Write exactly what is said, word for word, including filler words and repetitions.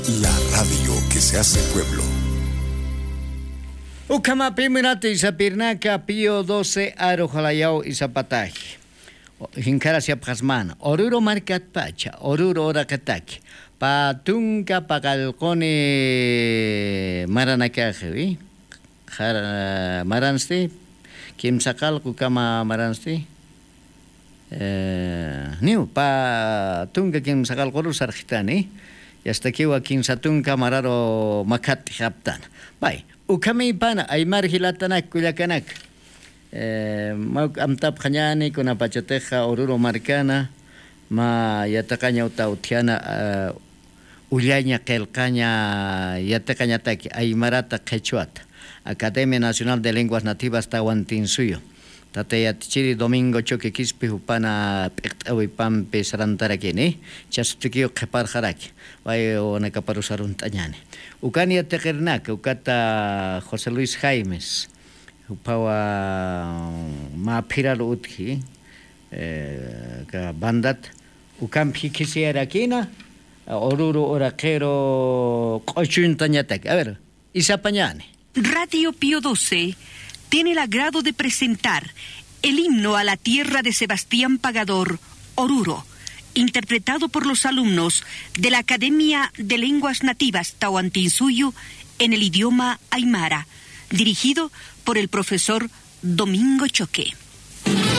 La radio que se hace pueblo. Ukhamapiminati isapirnaka Pío doce aru jalayaw isapataji. Jinkaras yapxasmana. Oruro markatpacha, Oruro uraqitaki. Pa tunka paqallquni maranakaxiwi. Qhar-, maransti, kimsa qallqu kama maransti. Eh, niw, pa tunka kimsa qallquru sarxitani. Yastakiwa kimsa tunka mararu makhat'ixaptana. Bay, ukhamipana, aymar jilatanak, kullakanak. Eh, mawk amtapxañani, kunapachatixa Oruro markana, ma yatiqaña uta utjiana, eh, ullaña qillqaña yatiqañataki aymarata qhichwata, Academia Nacional de Lenguas Nativas Tawantinsuyu. Tata yatichiri Domingo Choque Quispe jupana p'iqt'awipampi sarantarakini, chasutikiw qhiparxaraki, way wanakaparu sarunt'añani. Ukan yatiqirnaka, ukata José Luis Jaimes, jupawa mä phirar utji, eh, ka bandat, ukampi jikisiyarakina, Oruro uraqiru q'uchuntañataki. A ver, isapañani. Radio Pío doce tiene el agrado de presentar el himno a la tierra de Sebastián Pagador, Oruro, interpretado por los alumnos de la Academia de Lenguas Nativas Tawantinsuyu en el idioma aymara, dirigido por el profesor Domingo Choque.